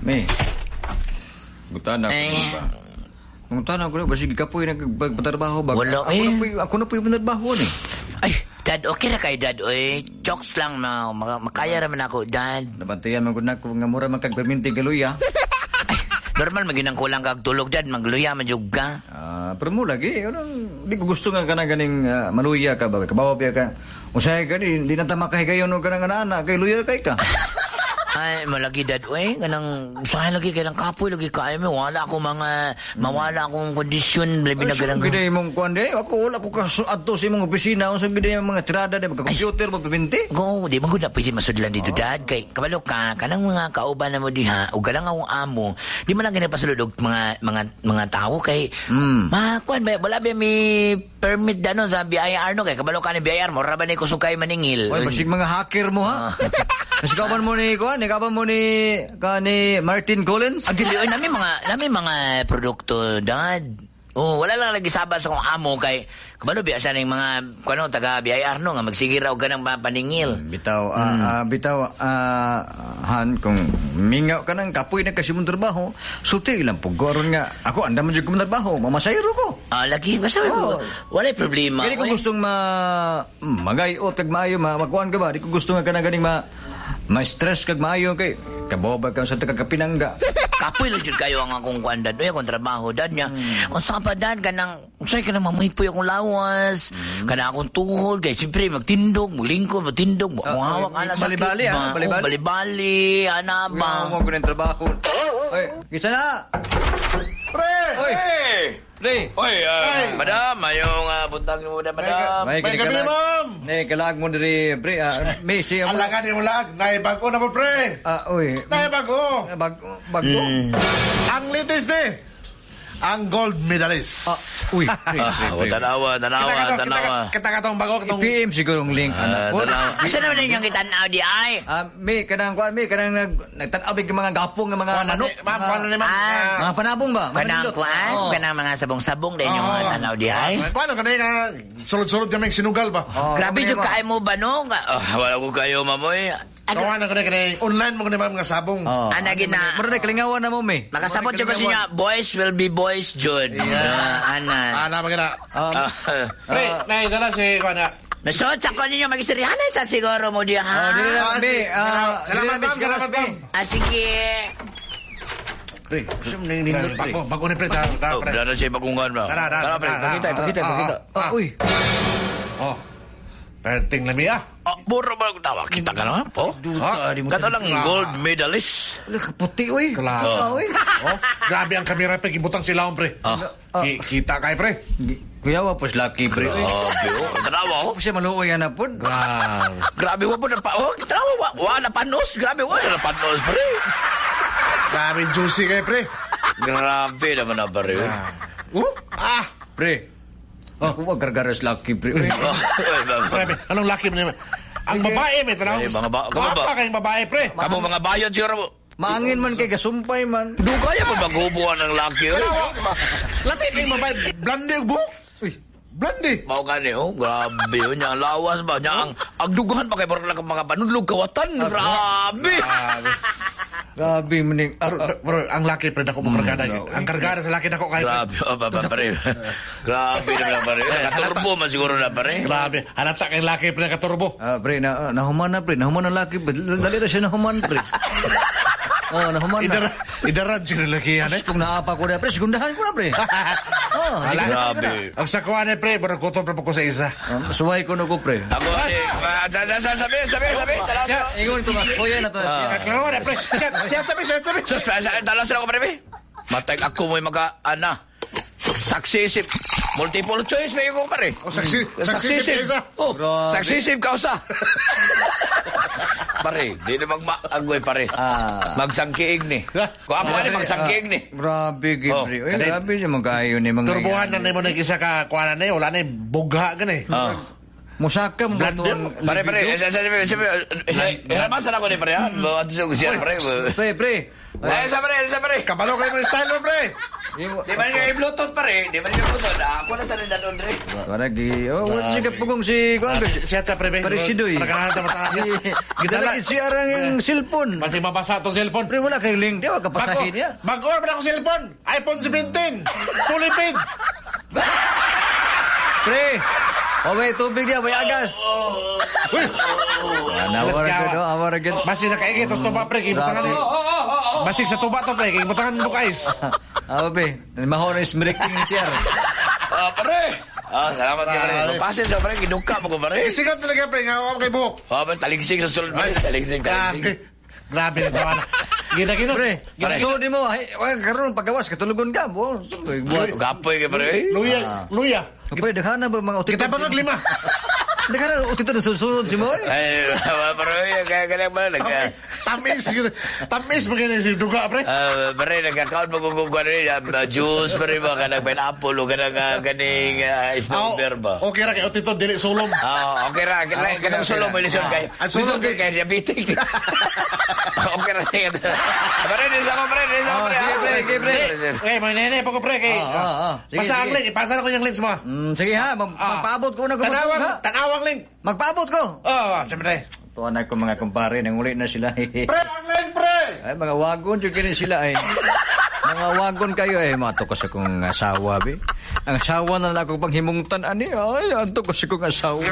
May. Butan ako Eh. ba? Butan ako ba sige kapoy nagpatrabaho ba? Wala, ako eh. na po'y ako na po'y trabaho ni. Ay, Dad, okay ra kay Dad, oy. Jokes lang, makaya raman ako, Dad. Nabantayan man gud nako nga mura man kag perminti galuya. Ay, normal magin ang kulang kag tulog, Dad. Magluya man jud ka. Ah, pero mo lagi, anong di ko gusto nga kana ganing maluya ka ba? Kabawa pa ka. Usahay ka di, di na ta makahigayon og kanang ana kay luya kay ka. Ay, malagi, Dad, oy. Kanang, usahay lagi, kanang kapoy lagi kaayo mi. Wala ako mga, mawala akong kondisyon. Labi na Ay, ganang. gid imong kuan di, ako wala ko ka adto sa imong opisina unsa gid imong mga tirada di computer mo perminti. Go, di man gud na pwede masudlan dito, Dad. Kay kabalo ka, kanang mga kauban na mo diha, ug galang akong amo, di man lang ginapasulod og mga tawo kay makuan ba wala ba may permit dano sa BIR no kay kabalo ka ni BIR mo ra ba ni kusog kay maningil. Oy, basig mga hacker mo ha. Kasi kauban mo ni kuan, ni kauban mo ni ka ni Martin Collins. Ang dili oy, nami mga produkto, Dad. Oh, wala lang lagi saba sa kong amo kay kabalo biya sa ning mga kuno taga BIR no nga magsige raw ganang paningil. Bitaw, bitaw, han, kung mingaw ka nang kapoy na kasi mong trabaho, sulti lang po. Aron nga, ako, anda man dyan ko trabaho, mamasayro ko. Ah, lagi basta Oh. wala problema. Kaya di ko oy. gustong magayot kag maayo, makuan ka ba? Di ko gusto nga ka na ganing ma-stress kag maayo kay kaboba ka sa tagakapinangga. Kapoy lang jud kayo ang akong kuan, Dad. Uy, akong trabaho, Dad niya. Unsa pa, Dad, kanang unsay kanang mamaypoy akong lawas, kanang akong tuhod kay siyempre magtindog, maglingkod, magtindog, mo hawak ana sakit. Bali-bali, ah, ba? bali-bali. Oh, bali-bali, ana ba? Mo ko ng trabaho. Oy, kisa na. Pre! Oy, pre. Oy, madam, ayong buntag mo na, madam. May May gabi, ma'am. Ne, kalag mo diri, pre. May siya mo. Alaga ni mo lag. Naibago na po, pre. Ah, uy. Naibago. Bago, bago. Ang latest ni, ang gold medalist. Ah, uy, pre, pre, pre. Tanawa, tanawa, tanawa. Kita ka tong bago. Katong, I-PM siguro ang link, anak ko. Tanawa. Asa naman inyong kitanaw di ay? Ah, may kanang kuan, may kanang nagtan-aw big mga gapong nga mga nanok. Ma'am, kuwan na ni ma'am. Ah. Mga panabong ba? Mga Kanang nindot. kuan, Oo. kanang mga sabong-sabong din yung mga tanaw di ay. Kuwan na kanina, sulod-sulod kami sinugal ba? Oo, Grabe kami, jud ma'am. kaay mo ba no? Wala ko kayo mamoy. Kuwan na kanina, online mo kanina ma'am nga sabong. Oo. Ana gina. Mura na kalingawan na mo, may. Makasabot jud ko sa inyo, boys will be boys jud. Ana. Ana, maganda. Um, Pre, naidala si kuwan na. Nasod sa ko ninyo magistoryahan sa siguro mo diha. Oh, dili na, Ah, may. salamat, dili na, ma'am. Salamat, may, ma'am. Ah, sige. Pre, gusto mo na yung nindot, pre. Bago, bago ni pre. Tara, tara, Oh, pre. dala siya bagungan ba? Tara, tara, Tara, pre, tara, pakita, tara, pakita, ah, pakita. ah, Ah, uy. Oh. Perting lami ah. Oh, mura ba ang tawa? Kita ka na, po? Duta, di mo. Kato lang gold medalist. Wala ka puti, uy. Klaro. Ah, uy. Oh, grabe ang kamera pre, gibutang sila pre. Ah. Kita kay pre. Kuya, wa pos lucky, pre. Uy. Grabe, oh. Tanawa, oh. Ako siya maluoy na po. Grabe. Grabe, wa po na pa. Oh, tanawa, wa, wa na panos. Grabe, wa na panos, pre. Grabe juicy kay pre. Grabe naman na, pre. Oh, ah. Pre. Oh. Ako, wag gargaras lucky, pre. Uy. Oh, Grabe, anong lucky mo naman? Ang babae may tanaw. Eh, mga kamo ba? Gwapa kayong babae pre. Kamu mga bayad siguro mo. Maangin man kay gasumpay man. Dugaya pa maghubuan ng laki. oy. Tanawa. Lami kayong babae, blonde ang buhok. Uy. Blonde. Mao gani oh, grabe yun niya ang lawas ba niya ang dugahan pa kay parang lang mga panudlog kawatan. Grabe. Grabe. Grabe maning. Pero ang laki pre dako mo kargada. Ang kargada sa laki dako kay pre. Grabe, oh, pa, pare. Grabe naman pare. Nakaturbo man siguro na pare. Grabe, halata kay laki pre nakaturbo. Ah, pre, na, nahuman na, pre. Nahuman na laki. Pre. Dali na siya nahuman, pre. Oh, nahuman na. Idara, idaran siguro laki yan eh. Kung naapa ko na, pre, segundahan ko na, pre. Oh, Wala. Grabe. Ang sakuan eh pre, pero kutob na po ko sa isa. Suway ko na ko, pre. Ako si sabi sabi sabi. Siya, Ingon ko nga, kuya na to siya. Kaklaro na pre. Siya, siya sabi, siya sabi. Sus, talas na ako pare. Matay ako mo'y maga ana. Successive. Multiple choice may ko pare. Oh, successive isa. Oh, Grabe. successive kausa. Pare, di na magmaagoy pare. Ah. Magsangkiig ni. Kung ako ani magsangkiig ni. Grabe, Oh. Gibri. Uy, grabe siya magkaayo ni mga Turbuhan na nimo na isa ka kuan na eh, wala na eh, bugha gani. Ah. Musaka mo Blender. to ang Pare, pare, libido. sabi, sabi, sabi, sabi, sa ako ni pare, ha? Bawa to siya, pare. Pre, pre. Ay, sa pare, sa pare. Kabalo kayo mo style mo, pre. Di ba niya i-Bluetooth pare? Di ba niya i-Bluetooth? Ah, ako na sa rin doon re. Wala gi. Oh, wala siya pugong si kuan. Siya sa pre, be. Pare si Doy. Para kanahan sa mata. Gidala si arang yung cellphone. Basig mabasa itong cellphone. Pre, wala kay link. Di ba kapasahin niya? Bago ba akong cellphone? iPhone 17. Fully paid. Pre, oh, may tubig niya, may agas. Uy, Awara gawa. gud, oh, awara gud. Basig nakaigit tos tuba, pre. Kibutangan ni. Basig sa tuba to, pre. Kibutangan mo guys. Ah, be, maho na ismiriking ni siya. Ah, pare. Ah, salamat ka pare. Grabe. Pasin sa pare, ginuka mo ko pare. Isigaw talaga, pre. Nga ako kay buhok. Ah, pare, taligsig sa sulod pare. Taligsig, Grabe. taligsig. Grabe na tawa na. Gina, gina. Pre, so di mo, ay, ay, karon pagawas katulugon ka mo. Buhat. Gapoy ka pare. Luya, luya. Pre, daghan na ba mga utito? Kita pa lima. Daghan na utito na susunod si mo. Ay, pare, kaya kaya ba nag Tamis, tamis. Tamis maganda si duga, pre. Ah, pare, nagkakaon mo kung kuan rin, juice pare ba kanang pineapple o kanang kaning snow beer ba. Okay ra kay Otito dili sulom. Ah, okay ra, kanang Ah, okay kanang ra, sulong okay mo ra. lisod kay. Ah, ang sulong Lisod kay diabetic. Okay ra siya. Pare, di sa ko pare, di sa ko Ah, pare. sige, pre, sige, pre. Eh, may nene pa ko, pre, kay. Ah. Sige, Pasa ang sige. link, ipasa na ko yung links mo. Sige ha, magpaabot ko na ko. Tanawang, ha? tanawang link. Magpaabot ko. Oh, siyempre. Tuwa na ko mga kumpare, nanguli na sila. Pre, ang link, pre. Ay, mga wagon, jud kini sila ay. Mga wagon kayo ay mato ko sa kong asawa, be. Ang asawa na lang ako panghimungtan ani. Ay, anto ko sa kong asawa.